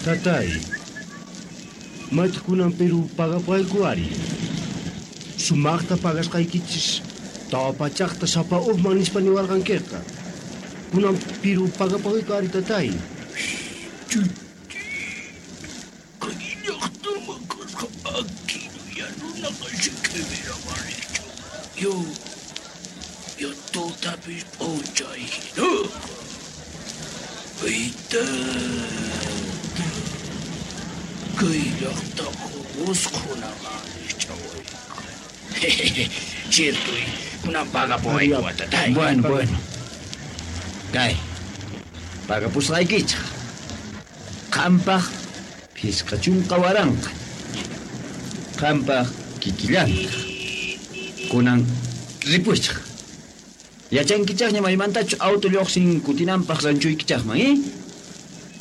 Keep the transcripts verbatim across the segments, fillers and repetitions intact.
Tatay, maytaq kunan Perú pagapuwayku ari. Sumaqta pagasqaykichis tawa pachaqta sapa uqman nispa niwarqankiqa. Kunan Perú pagapuwayku ari, tatay. Yo, yo tutapis p'unchay hinaqa. Ay, tata, kay llaqtaqa usqhunaman rikch'awayqa. Cierto, kunan pagapuwayku, tatay. Bueno, bueno. Kay, pagapusqaykichaq. Qampaq phisqa chunka waranqa. Qampaq kikillantaq. Kunan ripuychaq. Yachankichaqña maymantachu auto lluqsin kutinanpaq ranchuykichaqman, eh?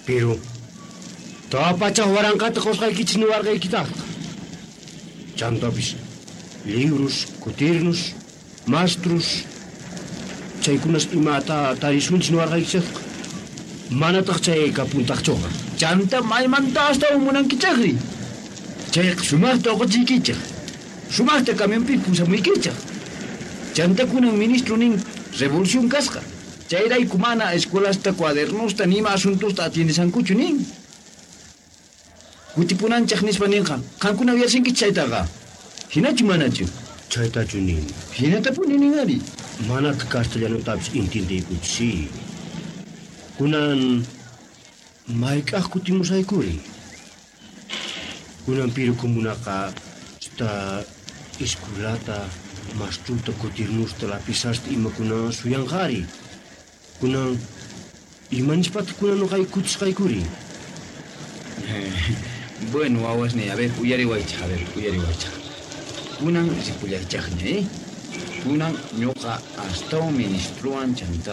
Pero tawa pachaq waranqata qusqaykichis niwarqaykitaqqa. Chantapis librus, kutirnus, mastrus, chaykunas imata tarisunchis niwarqaykichaqqa. Manataq chay kapuntaqchuqa. Chanta maymanta astawan munankichaqri. Chayqa sumaqta uquchiykichaq. Sumaqta camionpi pusamuykichaq. Chanta kunan ministro nin revolución kasqa. Chayrayku mana escuelasta, cuadernosta, nima asuntosta atiendesankuchu nin. Kutipunanchaq nispa ninqa. Qankuna uyasinkichik chaytaqa. Hinachu manachu? Chaytachu nin. Hinatapuni nin ari. Manataq castellanotapis intindiykuchu, sí. Kunan mayk'aq kutimusaykuri. Kunan Piru comunaqa sta escuelata, mastruta, kutirnusta, lapizasta imakuna suyanqari. Kunan imanispataq kunan nuqay kutisqaykuri. Bueno, wawasniy, a ver, uyariwaychaq, a ver, uyariwaychaq. Kunan ripullaychaqña, eh? Kunan ñuqa astawan ministrowan chanta